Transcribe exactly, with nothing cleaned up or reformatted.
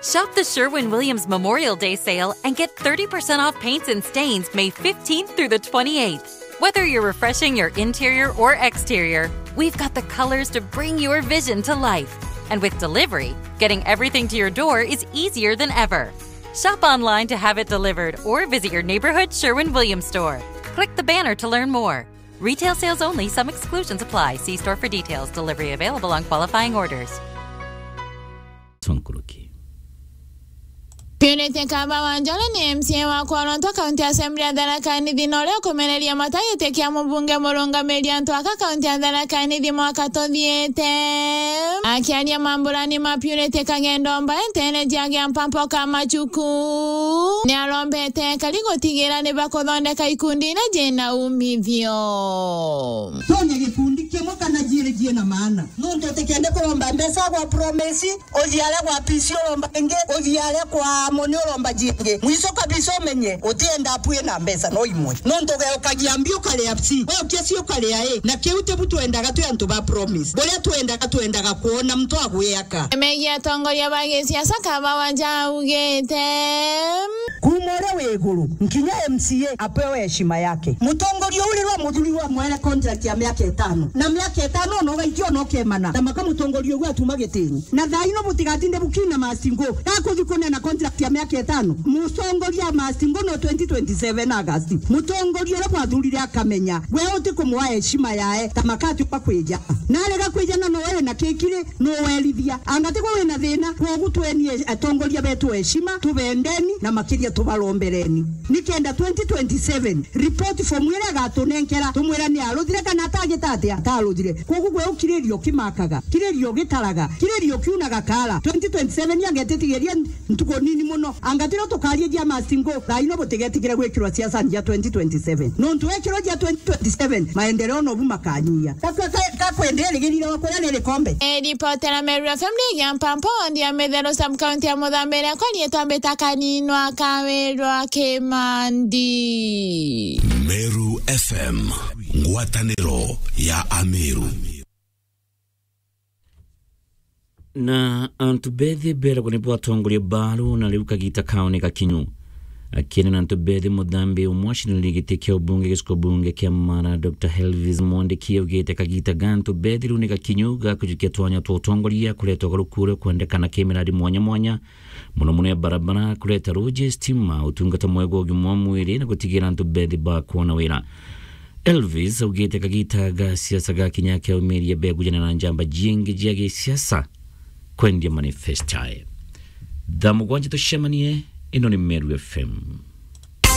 Shop the Sherwin Williams Memorial Day sale and get thirty percent off paints and stains May fifteenth through the twenty-eighth. Whether you're refreshing your interior or exterior, we've got the colors to bring your vision to life. And with delivery, getting everything to your door is easier than ever. Shop online to have it delivered or visit your neighborhood Sherwin Williams store. Click the banner to learn more. Retail sales only, some exclusions apply. See store for details. Delivery available on qualifying orders. Tonkuruki. Purity Kaba Wanjala ni M C A wa Kworonto County Assembly ya Tharaka Nithi, na uria ukumeneria mata giti kia mubunge murungamiri antu aka kaunti ya Tharaka Nithi mwaka tuthiite. Akiaria mamburani ma Purity Kagendo Mbae nteere cia Giampampo ka Machuku, ni arombete ekari gutigira ni bakuthondeka ikundi iria ciina umithio. Tonye gikundi kimwe kana jiiri jiina maana. Nuntu utikende kuromba mbeca gwa promise, uthii aria gwa P C uromba ingi, uthii aria kwa Moni uromba jingi. Mwico kabisa umenye, utienda apui na mbeca no imwe. Nuntu ugeukagia mbi ukaria C, we ukiaci ukaria A. Na kiu tibu twendaga twi antu ba promise. Buria twendaga, twendaga kwona muntu agwiaka. Megia atongoria ba gisiasa Kaba Wanjala augite. Kuuma uria wi iguru, nkinya M C A apewe heshima yake. Mutongoria uu riria muthuri wa mwere contract ya miaka itano, na miaka itano ona ugaikia ona ukemana, na maka mutongoria uu atuma gitini. Na thaa ino butigatinde bukina Mastingo, gakuthi kunena contract ya miaka itano. Mutongoria Mastingo no twenty twenty-seven August. Mutongoria uria bwathurire akamenya, we uti kumwa heshima yae, ta makati kwa kwija. Na arega kwija na no we na kikiri, no werithia. Anga ti gwe wina thina? Kwogu tuenie atongoria betu heshima, tubendeni na makiria tubarombereni. Nikenda twenty twenty-seven, report form iria agatunenkera, tumwira ni aruthire kana atagita atia, ataruthire. Kwogu gwe ukiriria ukimakaga, kiriria ugitaraga, kiriria ukiunaga kaara. Twenty twenty-seven agetitigeria ntuku nini muno. Anga tiro tukaria jia Mastingo, thaa ino butigetigire gwikirwa siasani jia twenty twenty-seven. Nontu wekirwa jia twenty twenty-seven, maendeleo nobu makanyia. Ka-, ka-, ka-, kakwende rigirire wa kuria riri kombe. E, ripotera Meru F M ni Giampampo, ndi ya Mitheru sub county ya Muthambiria, kwa rietwa mbita Kaninwa Kawirwa Kimandi. Meru F M, ngwataniro ya Ameru. Na antu bethi beragwa nibo atongoria baaru, na riu kagita kao ni gakinyu. Akiaria na antu bethi, muthambi umwe acindanire giti kia ubunge gicigo bunge kia Mara, Doctor Elvis Mwandiki, augite kagita ga antu bethi riu ni gakinyu ga kujukia twanya twa utongoria, kureta ugaruku uria ukwendekana ki miradi mwanya mwanya, muno muno ya barabara, kureta ruji, stima, utungata mwega wa ugima wa mwiri na gutigira antu bethi bakwona wira. Elvis augite kagita ga siasa gakinya kia umiria begujana na njamba jingi jia gisiasa kwendia manifesto yae. Thaa mugwanja tucemanie, ino ni Meru F M.